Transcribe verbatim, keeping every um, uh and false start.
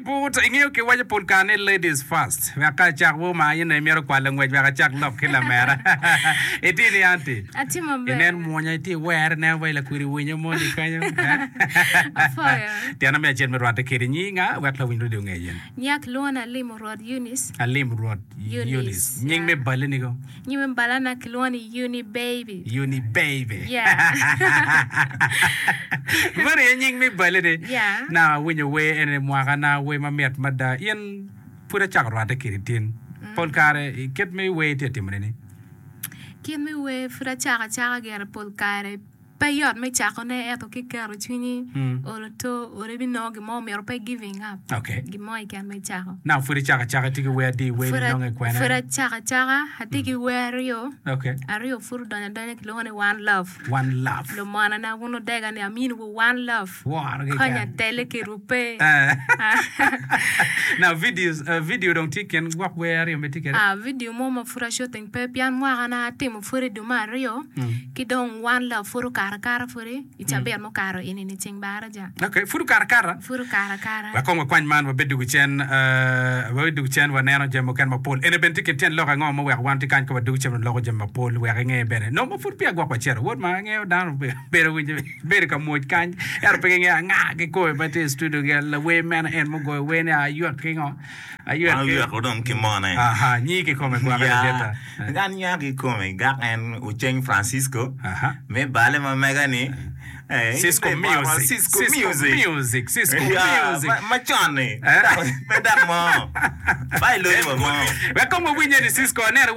but ingeyo ki waco pol kare ni ladies first. Wek ka acak wo ma in aye myero kwalo ngwec wek acak lok ki lamera. Itye ni aunty? Atye maber. Inen mwonya itye iwere inen wa i lakwidi winyo moni kanyo. Apwoyo. Tyena me acel me rwatte kedi nyinga wek lawiny radio onge yen. Nyak lwona Alim Rwot Eunice. Alim Rwot Eunice, Eunice. Nying yeah. me balle nigo? Nying me balana kilwongo ni Uni Baby. Uni Baby. Yeah. Meno aye nying me balle ni. Yeah. Na awinyo wer eni mwaka na wer mamit mada. In pud acako rwatte kedi tin. Pol kare i kit me wer itye ka timone ni? Kit me wer pud acako acaka gire pol kare pe yot me cakone ento ki keto cwinyi olo to olo ibinongo gin mo myero pe giving up Okay. gin mo keken ma icako. Now pud icako acaka itye ki wer adi wer Pud ni nonge kwene? pud acako acaka atye ki wer aryo Okay. aryo pud odonyo adonya kilwongo ni one love One love. lumonana wun odega ni amini wu one love Woro keken. konya tele kedwu pe. Eh. Now videos, uh, video dong tye i kin gwok wer aryo ma itye kwede? Ah, video mo ma pud a shooting pe pien mwaka na atimo pud i dwe me aryo ki dong one love pud okato akata pudi i cabit mukato eni-ni ceng baraja. Okay, pud okato akata? Pud okato akata. Wek kong wakwany man wabed dwogo cen, uh, wabed dwogo cen waneno jami mukene mapol. Eni bene tye kin tyen lok ango ma oweko wan tye kany ka wadwogo cen waloko jami mapol wek inge bene. Nongo ma pud peya gwok wacito, wod ma angeyo dano bedo winyo bedo ka mwoc kany ento pe gingeyo anga kikome ma tye i studio gi lawer mene en mugoyo wer ni aywek ki ngo aywek Wan ki oyweko dong ki mone. Aha, nyingi kikome gwake Ya, ladita. an nya kikome gak en Oceng Francisco Aha. me bale ma mega ni eh, Cisco in bene Music. Cisco Cisco Music. Music. Cisco Ya, Music. ma- macon ni Eh? pe dok mo pa iloyo wa mo Wek kong wawinye ni Cisco aneno